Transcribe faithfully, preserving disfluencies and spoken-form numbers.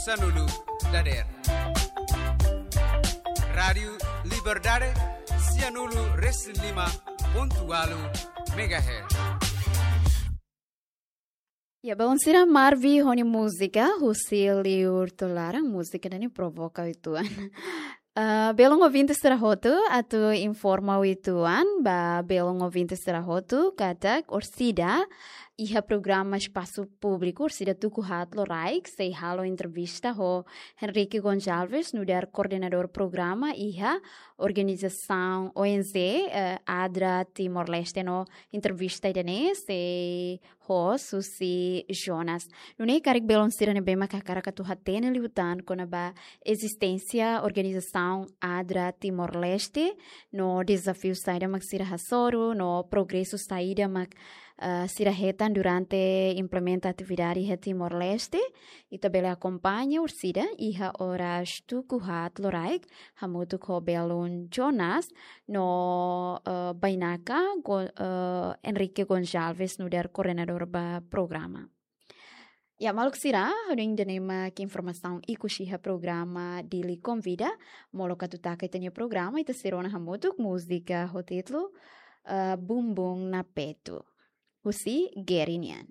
Sanulu dader. Rádiu Liberdade, sianulu resin lima pontu walu megahertz. Ya, belun sira, Marvi ho nia múzika husi liur to'o laran, múzika ne'e provoka uitoan. Ah, belun ouvinte sira hotu, atu informa uitoan ba belun ouvinte sira hotu katak orsida iha programa Espasu Públiku, orsida tuku haat loraik sei halo entrevista ho Henrique Gonçalves, nu'udar koordenadór programa iha organizasaun O N G, eh, ADRA Timor-Leste, no entrevista ida-ne'e sei host husi Jonas. Nune'e karik belun sira ne'ebé mak hakarak atu hatene liután kona-ba ezisténsia organizasaun ADRA Timor-Leste, no dezafiu saida mak sira hasoru, no progresu saida mak, ah, sira hetan durante implementa atividade iha Timor-Leste, ita bele akompaña orsida iha oras tuku haat loraik, hamutuk ho belun Jonas, no, eh, bainaka Go-, eh, Henrique Gonçalves, nu'udar koordenadór ba programa. Ya, maluk sira, hodi ida-ne'e mak informasaun ikus iha programa Dili Konvida, molok atu taka ita-nia programa, ita sei rona hamutuk múzika ho títulu, eh, Bumbum na Petu, husi Geri nian.